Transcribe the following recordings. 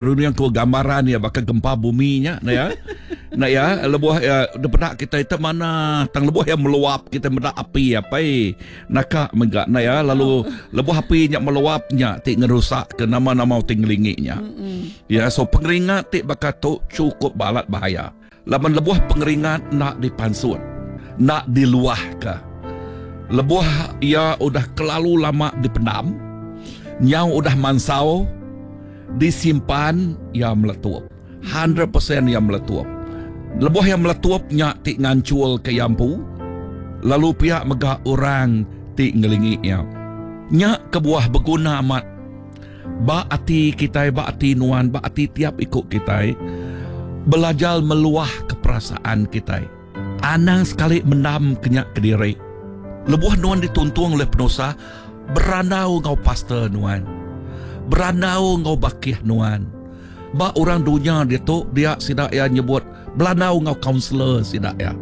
Runding ku gambaran iya baka gempa bumi nya ne ya. Ne ya lebuh iya dipeda kitai te manah tang lebuh iya meluap kitai meda api apai naka mega ne ya lalu lebuh api nya meluap nya ti ngerusak ke nama-nama ti ngelingi nya. Ya so pengeringat ti baka tu chukup balat bahaya. Laban lebuh pengeringat enda dipansut, enda diluahka. Lebuh iya udah kelalu lama dipendam, nyau udah mansau, disimpan, iya meletup. Hundred percent iya meletup. Lebuh iya meletup nya ti nganchulka iya empu, lalu pia mega orang ti ngelingi iya. Nya kebuah beguna amat Ba ati kitai, ba ati nuan, ba ati tiap iku kitai, belajar meluahka perasaan kitai. Anang sekali mendam ke nya kediri. Lebuh nuan dituntung ulih penusah, berandau enggau pastor nuan. Berandau enggau bakih nuan. Ba orang dunya ditu, dia sida iya nyebut belandau enggau kaunselor sida iya.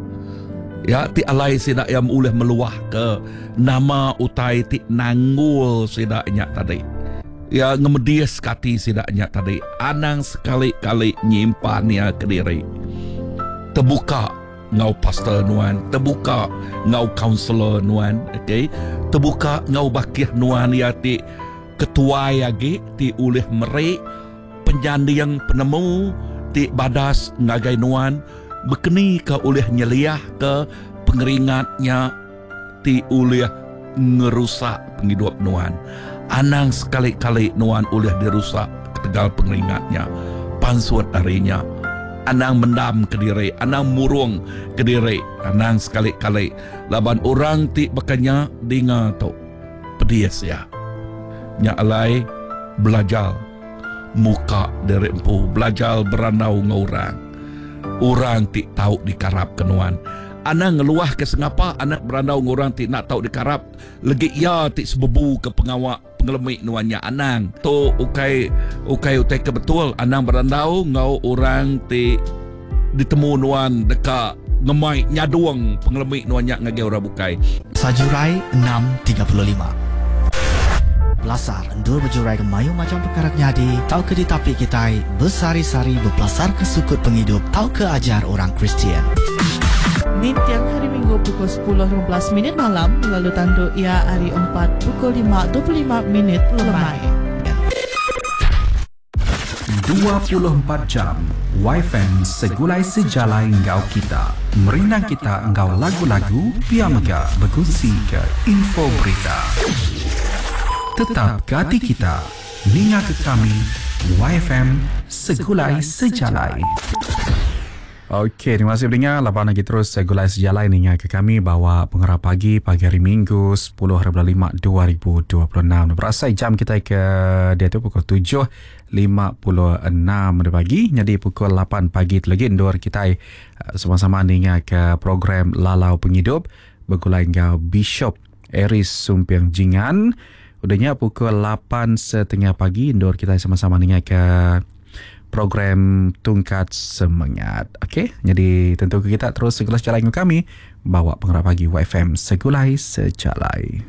Ya ti alai sida iya ulih meluahka nama utai ti nanggul sida nya tadi. Ya ngemediska ati sida nya tadi. Anang sekali-kali nyimpan iya kediri. Tebuka enggau pastor nuan, tebuka enggau kaunselor nuan, okey. Tebuka enggau bakih nuan iya ti ketuai agi ti ulih meri Penyanding penemu ti badas ngagai nuan bekeni ke ulih nyeliahka pengeringat nya ti ulih ngerusak pengidup nuan. Anang sekali-kali nuan ulih dirusak ketegal pengeringat nya. Pansut ari nya. Anang mendam kediri, anang murung kediri, anang sekali-kali laban orang ti baka nya dinga tu pedis iya. Nya alai belajar muka diri empu, belajar berandau enggau orang. Orang ti tau dikarapka nuan. Anang ngeluahka sengapa anang berandau enggau orang ti enda tau dikarap legi iya ti sebebuka pengawa pengelemi nuan nya. Anang. Tu ukai ukai utai ke betul. Anang berandau enggau orang ti ditemu nuan deka ngemai nyadung pengelemi nuan nya ngagai orang bukai. Sajurai 6:35. Pelasar endur bejuraika mayuh macham pekara ke nyadi tauka ditapi kitai besehari-sehari bepelasarka sukut pengidup tauka ajar orang Kristian. Ninting Hari Minggu pukul 10:15 minit malam lalu tandu iya hari Empat pukul 5:25 minit lemai. 24 jam Wifi segulai sejalai enggau kita. Merindang kita enggau lagu-lagu pia mega bekunsi ke info berita. Tetap ke ati kita ninga ke kami YFM Segulai Sejalai. Okey, terima kasih pendengar laban lagi terus segulai sejalai ninga ke kami bawa pengarap pagi pagi hari Minggu 10 hari bulan 5 2026. Berasai jam kita ke dia tu pukul 7.56 pagi jadi pukul 8 pagi tu lagi endur kita eh, sama-sama ninga ke program Lalau Pengidup begulai enggau Bishop Aris Sumping Jingan. Udah nya pukul 8.30 pagi endur kita sama-sama ninga ke program Tungkat Semengat. Okey, jadi tentu ke kita terus segala sejalai dengan kami bawa pengarap pagi YFM Segulai Sejalai.